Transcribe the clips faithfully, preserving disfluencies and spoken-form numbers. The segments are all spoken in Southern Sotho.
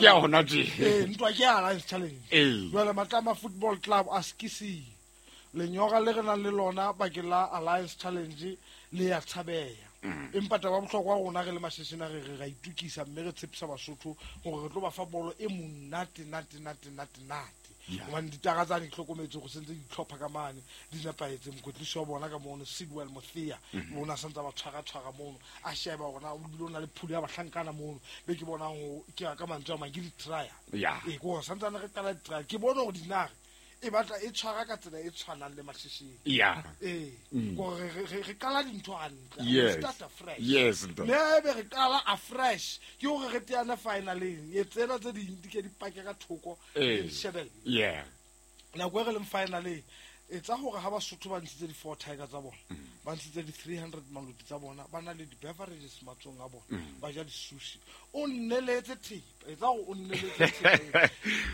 Ke ya hona tje. Ee, ntwa ke ya Alliance Challenge. Ee. Jwale Matlama Football Club a sekising. Lenyora le re nang le lona bakeng la Alliance Challenge le ya tshabeya. Empa taba ya bohlokwa rona re le Masheshing a re re ra itukisa mme re tshepisa Basotho hore re tlo ba fa bolo e monate nate nate nate nate. Hobane ditara tsane di hlokometse hore sentse di tlhopha ka mane di nepahetse. Mokwetlisi wa bona ka mono Sidwell Mothea o na santsa ba tshwara tshwara mono a sheba hore na o bile o na le phulu ya bahlankana mono be ke bonang ho ke ka mantswe a mang ke di-trial. Ee, ke hore santsane re qala di-trial ke bone hore dinare e batla e tshwara ka tsela e tshwanang le Masheshing. Yeah. Ee, Mm. gore re, re, re qala dintho hantle. Yes. We start afresh. Yes, ntate. Le haebe re qala afresh, ke hore re teane finaleng. E tsena tse ding di ke di pake ka thoko, Ee. di shebelle. Yeah. Nako e re leng finaleng, etsa hore ha Basotho ba ntshitse di-four tiger tsa bona, ba ntshitse di-three hundred maloti tsa bona, ba na le di-beverages matsohong a bona, ba ja di-sushi. O nneletse thepa, etsa hore o nneletse thepa.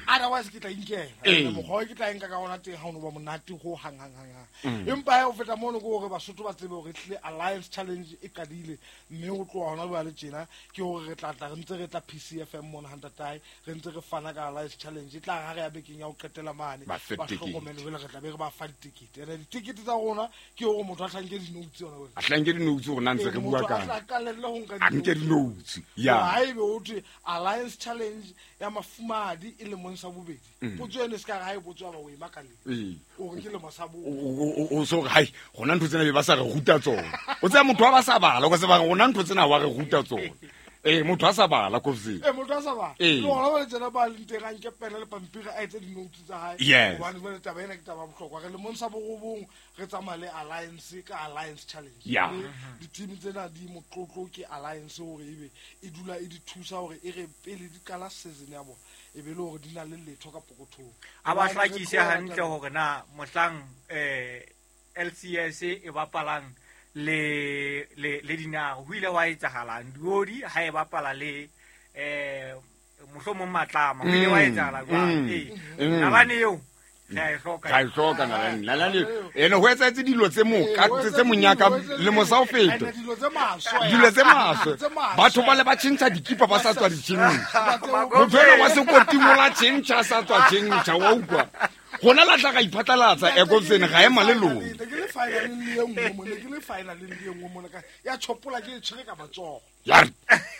Otherwise ke tla inkela. Ee. Mokgwa o ke tla enka ka ona teng ha o no ba monate ho hang, hang, hang, hang. Empa ha o feta mono ke hore Basotho ba tsebe hore ehlile Alliance Challenge e qadile, mme ho tloha hona jwale tjena ke hore re tla tla re ntse re tla P C F M mona ha ntatae, re ntse re fana ka Alliance Challenge. E tla re ha re ya bekeng ya ho qetela mane, Ba fe ba tekete. hlokomele jwale re tla be re ba fa ditekete. Ene ditekete tsa rona ke hore motho a hlanke di-notes yona wena. A hlanke di-notes hore na ntse re Ee, bua motho a kang. tla qalelle ho nka A nke di-notes. di-notes. Ya. Ha ebe ho thwe Alliance Challenge ya mafumahadi e lemong sa bobedi. Potso eno e se ka re ha e botswa ba o e makaleng. Ee. O re ke lemo sa bobedi. O, o, o so re, hai, rona ntho tsena be ba sa re ruta tsona. O tseba motho wa ba sa bala, o ka se ba re rona ntho tsena wa re ruta tsona. Ee, motho a sa bala, Kobzeng. Ee, motho a sa bala. Ee. Le hona jwale tsena ba leng teng, a nke pene le pampiri, a etse di-notes tsa hae. Yes. Hobane jwale taba ena ke taba ya bohlokwa. Re lemong sa borobong, re tsamaya le Alliance ka Alliance Challenge. Yeah. Mme di-team tsena di motlotlo ke Alliance hore ebe e dula e di thusa hore e re pele di qala season ya bona, e be le hore di na le letho ka pokothong. A ba Hobane re hlakise tloha hantle taba- hore na mohlang, eh, L C S e bapalang le, le, le Dinare, ho ile hwa etsahalang? Diodi ha e bapala le, eh, mohlomong Matlama, ho ile hwa Mm, etsahala jwang? mm, Ee. mm. Nalane eo, re a e hloka. Re a e hloka nalane. Nalane eo. Ene ho etsahetse dilo tse moka, Ee, ho tse etsahetse monyaka, dilo, ho etsahetse lemo sa ho dilo. feta. Ene dilo tse maswe. Dilo tse maswe. Tse maswe. Batho ba le ba tjhentjha dikipa ba sa tswa di tjhentjha. Batho Motho enwa wa sekoting o la tjhentjha, a sa tswa tjhentjha, wa utlwa. Rona la tla ra iphatlalatsa, Ntate, Ekobsene, ke ga ema le le lona. finaleng, ke le finaleng le e nngwe mona, ke le finaleng le e nngwe mona ka, ya tjhopola ke e tshwere ka matsoho. Ya re.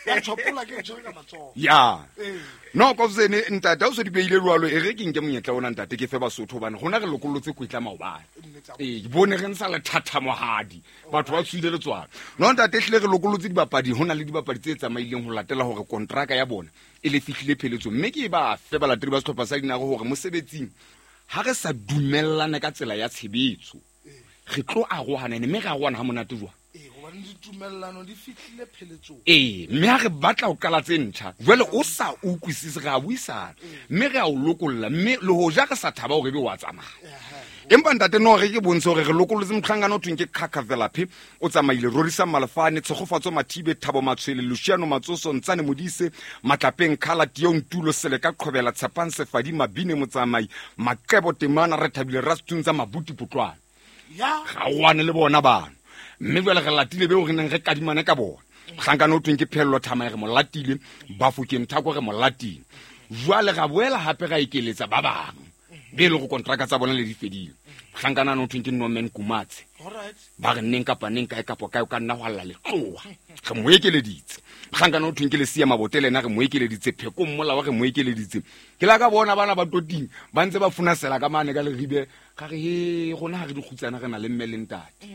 Ya tjhopola ke e tshwere ka matsoho. Ya. Ee. No, Kobsene, ntate, ha o so di behile jwalo, e re ke nke monyetla ona, ntate, ke fe Basotho, hobane rona re lokollotse kwetla maobane. Nnete tsa Ee, ke bone re ntsha lethathamohadi, batho ba tswile letswalo. No, ntate, ehlile re lokollotse dibapadi, ho na le dibapadi tse tsamaileng ho latela hore kontraka ya bona e le fihlile pheletsong. Mme ke ba fe balatedi ba sehlopha sa Dinare hore mosebetsing ha re sa dumellana ka tsela ya tshebetso, re tlo arohana, ene mme re arohana ha monate jwang? Ee, hobane ditumellano di fihlile pheletsong. Ee, mme ha re batla ho qala tse ntjha, jwale o sa utlwisise, re a buisana, mme re a o lokolla, mme le hoja re sa thaba hore ebe wa tsamaya. Empa ntate, no re ke bontshe hore re lokollotse mohlankana o thweng ke Khakha Velaphe, o tsamaile, Rorisang Malefane, Tshegofatso Mathibe, Thabo Matshwele, Luciano Matsoso, Ntsane Modise, Matlapeng Khala, Tio Ntulo, Seleka Qhobela, Tshepang Sefadi, Mabine Motsamai, Maqebo Temana, Rethabile Rastuntsa, Mabuti Potlwana. Ya. Ga o wane le bona bano. Mme jwale re latile beo re neng re kadimane ka bona. Mohlankana o thweng ke Phello Thamae re mo latile, Bafokeng Thako re mo latile. Jwale ra boela hape ra ekeletsa ba bang be e leng hore kontraka tsa bona le di fedile. Mohlankana o thweng ke Norman Kumatse. Alright. Ba re neng kapa neng kae kapa kae o ka nna hwa lla letloha. Re mo ekeleditse. Mohlankana o thweng ke Lesia Mabote le yena re mo ekeleditse. Pheko Mmolawa re mo ekeleditse. Ke la ka bona bana ba toting ba ntse ba funasela ka mane ka leribe. Ka re, he, rona ha re dikgutsana re na le mme le ntate.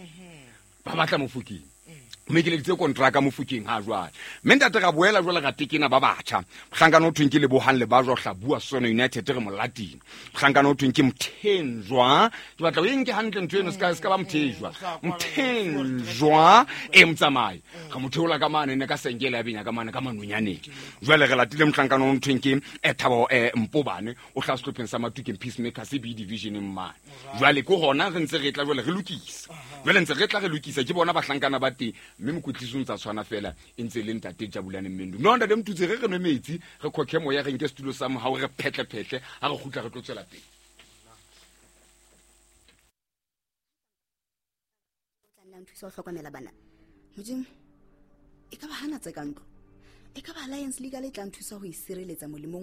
Ba batla Mofokeng. Mme ke leditse kontraka Mofokeng ha jwale. Mme ntate ra boela jwale ra tekena ba batjha. Mohlankana o thweng ke Lebohang Lebajwa o hlabua Sono United re mo latile. Mohlankana o thweng ke Mthenjwa. Ke batla o e nke hantle ntho eno, se ka, se ka ba Mthejwa. Mthenjwa e motsamai. Re mo theola ka mane, ne ka senkele ya benya ka mane ka manonyaneng. Jwale re latile mohlankana o thweng ke, eh, Thabo, eh, Mpobane, o hlaha sehlopheng sa Matukeng Peacemakers B division mane. Jwale ke hona re ntse re tla jwale re lokisa. Jwale ntse re tla re lokisa ke bona bahlankana ba teng. Mme mokwetlisi o ntsa tshwana fela e ntse e le ntate Jabulane Mendu. No ntate Mtutse, re re nwe metsi, re khokhe moya, re nke setulo sa mohau, re phetle-phetle, ha re kgutla re tlo tswela pele. Tla nna nthusa ho hlokomela bana. Modimo, e ka ba hana tse ka ntlo. E ka ba Alliance Legal e tla nthusa ho e sireletsa molemong